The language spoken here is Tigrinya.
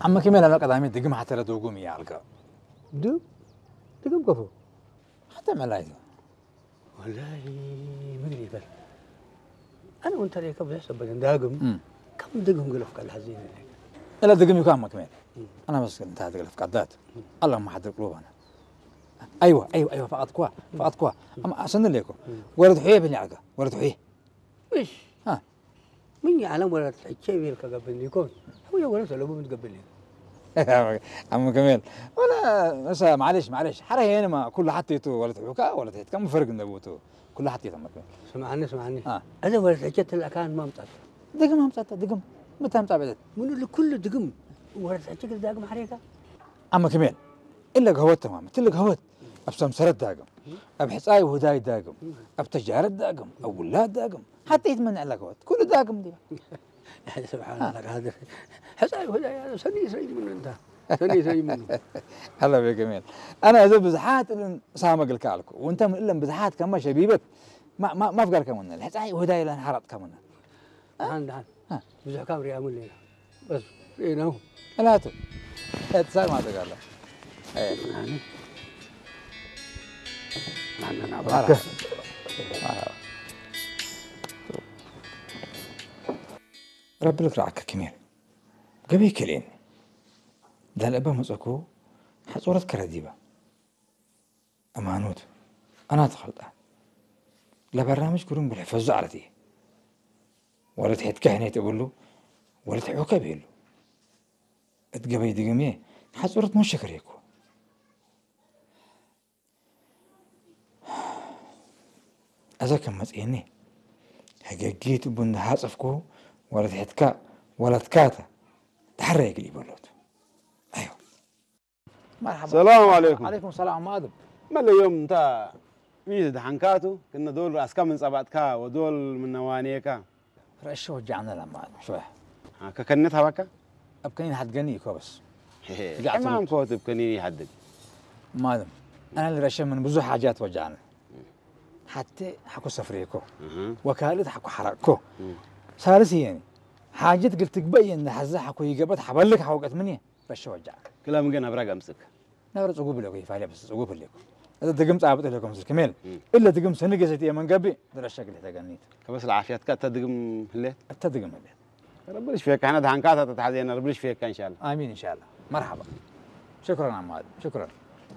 ዓመ ከመይ ላላ ቀዳሚ ድግም ሓተረ ደጉም እያ ኣልካ። ድም ድግም ከፎ ሓተ መላይት። ወላሂ ምግሪ ይበል። ኣነ እውን ተሪእካ ብዙሕ ሰበለ ዳግም ከም ድግም ገለፍካ ለሓዘ ይበል። እለ ድግም ይኳ ዓመ ከመይ ኣና መስገን እንታ ትገለፍ ቀዳት ኣላ ማሓድር ቅሉባና። ኣይዋ ኣይዋ ኣይዋ ፈቐድኳ ፈቐድኳ ኣሰንለይኮ። ወረድ ሑየ ብልዓጋ ወረድ ሑየ። ምሽ ምን ዓለም ወረድ ሕቼ ቤልካ ገብኒ ይኮን። ሁየ ወረድ ሰለቡ ምትገብኒ ዓም ከሜል ወላ እሳ ማዕለሽ ማዕለሽ ሓረ ሄንማ ኩሉ ሓቴቱ ወለት ሑካ ወለት ሄትካ ምፈርግ እንደቦቱ ኩሉ ሓቴቱ ዓም ከሜል። ስምዓኒ ስምዓኒ አ። እዚ ወረድ ሕቼ ትላካን ማምጣት ድግም ኣምጻታ ድግም ምታ ኣምጻ በለት ምኑ ልኩሉ ድግም ወረድ ሕቼ ግል ዳግም ሓሬካ ዓም ከሜል እለ ገህወት ተማም ትል ገህወት ኣብ ሰምሰረት ዳግም ኣብ ሕጻይ ውህዳይ ዳግም ኣብ ተጃረት ዳግም ኣብ ውላድ ዳግም ሓቴት ምን ዕላ ገህወት ኩሉ ዳግም ዲባ ስብሓንላ ካድር ሕፃይ ወዳያ ሰኒ ሰይሙኑ እንታ ሰኒ ሰይሙኑ هلا بك جميل. انا اذا بزحات الان سامق الكالكو وانت من الان بزحات كما شبيبت ما ما ما في قال كمان الحصاي وهداي لان حرقت كمان ደሓን ደሓን ብዙሕ ካብ ሪኣሙ ኣለና በስ ሪእናሁ ثلاثة. اتصال ما تقال. ናንና مرحبا. مرحبا. ربي لك رعك كمين. قبي كلين. ዳልእባ መጸኩ ሓጾረት ከረዲባ ኣማኖት ኣና ተኸልጣ ለበራምጅ ኩሩም ብልሕፈዙ ዓለት እየ ወለት ሒትካ ሕኔት እብሉ ወለት ሕውከብ ይህሉ እት ገበይ ድግም እየ ሓጾረት መሸከር የኩ እዛ ከም መጽኤኒ ህገጊት ቡን ዝሓጽፍኩ ወለትሕትካ ወለትካታ ድሓር የግል ይበሎት ኣዮ مرحبا السلام عليكم عليكم السلام ማድም መለዮም እንታ ሚዝ ድሓንካቱ ክነ ዶል ራስካ ምን ጸባጥካ ወዶል ምን ነዋኔካ رأشة وجعنا لما شوية ከከነት ሃባካ أبكنين حد قني كوبس ሕማም ኮትብ ከኒን ይሓድግ ማለም أنا اللي رشة من بزو حاجات وجعنا حتى حكو سفريكو وكالت حكو حرقكو سالس يعني حاجة قلت قبي إن حزة حكو يقبت حبلك حوقت مني رشة وجعنا ክላ ምን ገና ብራግ ኣምጽክ ነብረ ጽጉብ ለኩ ይፋለ በስ ጽጉብ ለኩ እዛ ድግም ጻብጥ ለኩም ስል ከሜል እለ ድግም ሰንገ ሰትየ መንገቢ ድረሸ ግለ ተገኒት ከበስ ለዓፍያትካ እታ ድግም ህሌት እተ ድግም ህሌት ረብልሽ ፌካ ሕና ድሓንካ እታ ተትሓዘየና ረብልሽ ፌካ እንሻላ آمين إن شاء الله مرحبا شكرا عماد شكرا